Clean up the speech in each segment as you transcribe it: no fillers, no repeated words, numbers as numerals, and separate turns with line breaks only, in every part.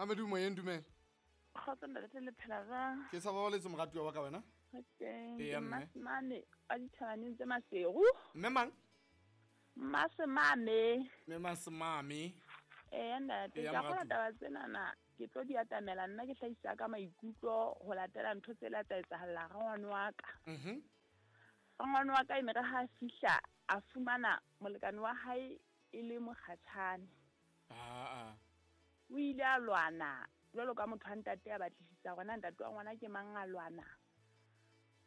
Mamedu moyeng, dumela.
Kgotso ntate, le phela jwang?
Ke sa babaletse moratuwa wa ka wena.
Re teng.
Eya,
Ke
mme.
Mmasemame wa dithabaneng tse Maseru.
Mme mang?
Mmasemame.
Mme Masemame.
Eya ntate,
Eya,
ke a kgolwa
moratuwa.
taba tsenana ke tlo di atamela nna ke hlahisa ka maikutlo ho latela ntho tse la tsa etsahalla rangwane wa ka. Rangwane wa ka e ne re ha a fihla a fumana molekane wa hae e le mokgatjhane.
Aa.
O ile a lwana jwalo ka motho wa ntate a batlisisa hore na ntate wa ngwana ke mang, a lwana.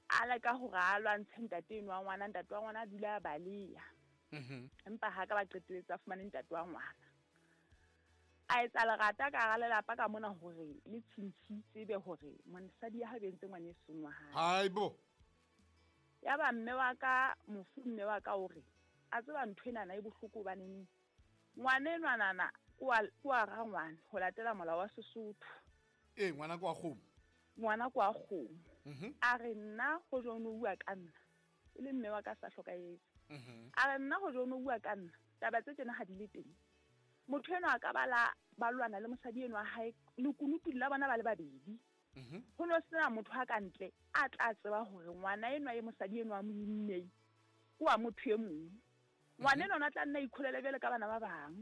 A leka hore a lwantshe ntate eno wa ngwana, ntate wa ngwana a dula a baleha. Empa ha ka ba qetelletse a fumane ntate wa ngwana. A etsa lerata ka hara lelapa ka mona hore le tshintshi tsebe hore mosadi ya hae o entse ngwana e seng wa hae.
Haibo.
Ya ba mme wa ka, mofu mme wa ka o re, a tseba ntho enana e bohloko hobaneng ngwana enwanana ke wa rangwane ho latela molao wa Sesotho.
Ee, ngwana ke wa kgomo.
Ngwana ke wa kgomo. A re nna ho jwang o bua ka nna, e le mme wa ka sa hlokahetse. A re nna ho jwang o bua ka nna, taba tse tjena ha di le teng. Motho enwa a ka ba la ba lwana le mosadi enwa wa hae, lekunutu la bona ba le babedi. Ho no sena motho a ka ntle a tla tseba hore ngwana enwa e mosadi enwa a mo immeng ke wa motho e mong. Ngwana enwa o tla nna a ikholele jwale ka bana ba bang.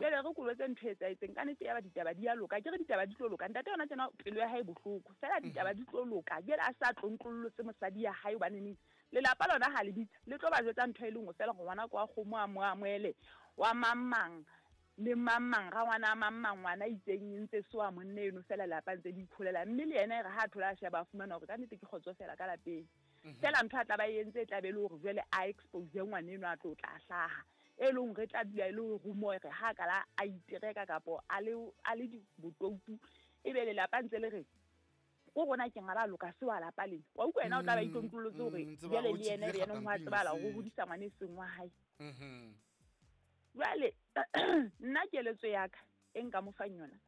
Jwale re kolotse ntho e etsahetseng, ka nnete ya ba ditaba di a loka. Ke re ditaba di tlo loka. Ntate yona tjena pelo ya hae e bohloko. Feela ditaba di tlo loka. Jwale a sa tlontlollotse mosadi ya hae hobane neng lelapa lona ha le bitsa, le tlo ba jwetsa ntho e le nngwe feela hore ngwana ke wa kgomo a mo amohele, wa mang mang le mang mang, rangwana a mang mang, ngwana a itseng e ntse se wa monna eno feela lelapa ntse le ikholela. Mme le yena e re ha a thola a sheba a fumana hore ka nnete ke kgotso feela ka lapeng. Feela ntho a tla ba e entse e tla be e le hore jwale a expose ngwana eno a tlo tla hlaha. E leng hore e tla dula e le hore rumour re ha ka la a itereka kapo a le, a le di botoutu, e be lelapa ntse le re ko rona ke ngaba loka se wa lapa lena. Wa utlwa yena o tla ba itlontlollotse hore
Tseba
jwale
o
le yena,
tshepile
le yena ho a
kgatamping
tsebahala hore o
se.
hodisa ngwana e seng wa hae. Jwale nna keletso ya ka e nka mo fang yona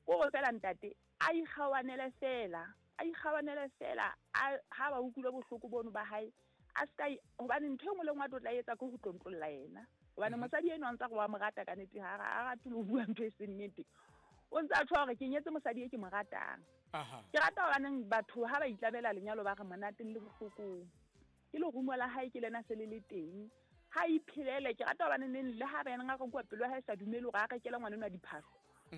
ko hore feela ntate a ikgawanele fela, a ikgawanele fela, a ha ba utlwile bohloko bono ba hae, a ska hobane ntho e nngwe le nngwe a tlo tla etsa ke ho tlontlolla yena. Hobane mosadi enwa o ntsa re wa mo rata ka nnete, ha a rate le ho bua ntho e seng nnete. O ntse a tjho hore ke nyetse mosadi e ke mo ratang. Ke rata hobaneng batho ha ba itlabela lenyalo ba re monateng le bohlokong. Ke lerumo la hae ke lena se le le teng. Ha iphelele, ke rata hobane neng le ha ba yena ngaka kwa pelo ya hae sa dumele hore a rekele ngwana enwa diphahlo.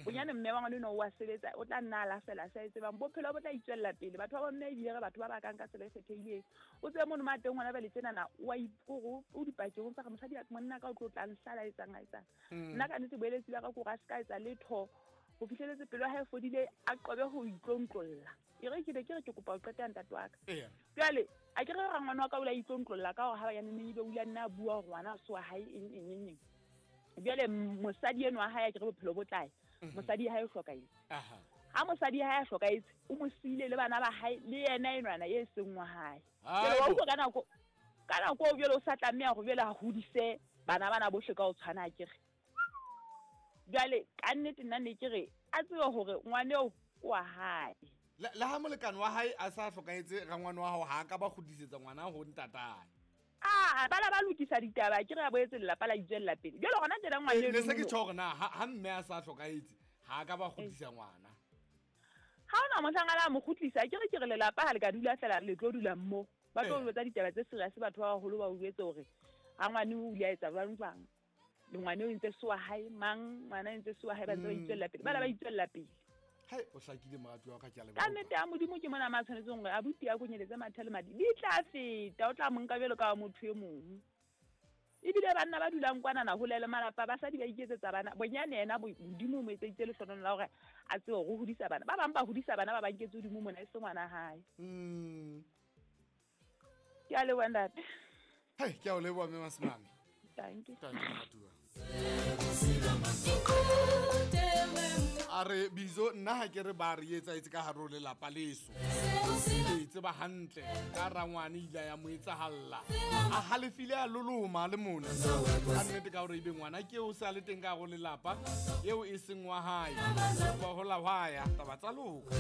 Bonyane mme wa ngwana enwa o a sebetsa, o tla nna a lahlela sa e tsebang. Bophelo bo tla itswella pele. Batho ba bomme ebile re batho ba bakang ka tsela e kgethehileng. O tsebe mono ma teng ngwana ba le tsenana, o a iporo, o dipakeng tsa re mosadi monna ka o tlo tla nhlala a etsang, a etsang. Nna ka nnete boeletsi ba ka ke hore a ska etsa letho ho fihleletse pelo ya hae e fodile, a qobe ho itlontlolla. E re ke be ke re ke kopa ho qeta ntate wa ka. Jwale a ke re rangwane wa ka o la itlontlolla ka hore ha ba ya neng ebe o ile a nna a bua hore ngwana a se wa hae eng, eng, eng, eng. Jwale mosadi enwa wa hae a ke re bophelo bo tlae. Mosadi ya hae o hlokahetse. Ha mosadi ya hae a hlokahetse, o mo siile le bana ba hae, le yena enwana e seng wa hae. Jwale wa utlwa ka nako eo jwale o sa tlameha hore jwale a hodise bana bana bohle ka ho tshwana, a ke re. Jwale ka nnete nna ne ke re a tsebe hore ngwana eo ke wa hae.
Le ha molekane wa hae a sa hlokahetse, rangwane wa hao ha a ka ba kgutlisetsa ngwana ho ntatae.
Ah, ba la ba lokisa ditaba, ke re a boetse lelapa la itswella pele. Jwale hona tjena ngwana
Ne se
eno
ke
no.
tjho hore na, ha mme a sa hlokahetse, ha a ka ba kgutlisa ngwana.
Ha hona mohlang a la mo kgutlisa, ke re ke re lelapa ha le ka dula feela le tlo dula mo. Ba tlo jwetsa ditaba tse serious, batho ba baholo ba o jwetse hore rangwane o ile a etsa jwang jwang. Le ngwana o entse se wa hae, mang ngwana o entse se wa hae, ba ntse ba itswella pele. Ba la ba itswella pele.
Hai, o hlakile moratuwa wa ka, ke a leboha.
Ka nnete ya Modimo ke mona ma tshwanetseng hore abuti a konyeletse mathe le madi. Di tla feta, o tla mo nka jwalo ka wa motho e mong. Ebile banna ba dulang kwanana hole le malapa, basadi ba iketsetsa bana. Bonyane yena Modimo o mo etseditse lehlohonolo la hore a tsebe hore o hodisa bana. Ba bang ba hodisa bana ba ba nketse hodimo mona, e se ngwana hae. Ke a leboha ntate.
Hai, ke a o leboha mme Masimame.
Thank you.
Thank you, moratuwa. A re Bizo, nna ha ke re ba re etsahetse ka hare ho lelapa leso. Ke tseba hantle ka rangwane ile ya mo etsahalla. A halefile a loloma le mona. Ka nnete ka hore ebe ngwana ke o sa le teng ka hare ho lelapa eo e seng wa hae. Ba hola hwa ya taba tsa loka.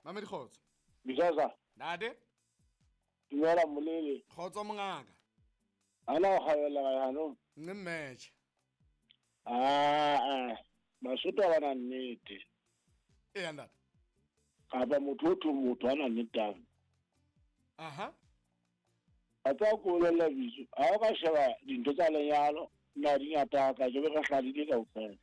Mamedi kgotso.
Bizaza.
Ntate.
Dumela molele.
Kgotso mongaka.
Ana o kgabela ga jaanong.
Nne mmetšhe.
Aa, Basotho ga ba na nnete.
Eya ntate.
Kapa motho o thong motho a na nnetang.
Aha.
A tsa ko bolelela bitso. Ha o ka sheba dintho tsa lenyalo, nna di ngata ka ke be re hladile kaofela.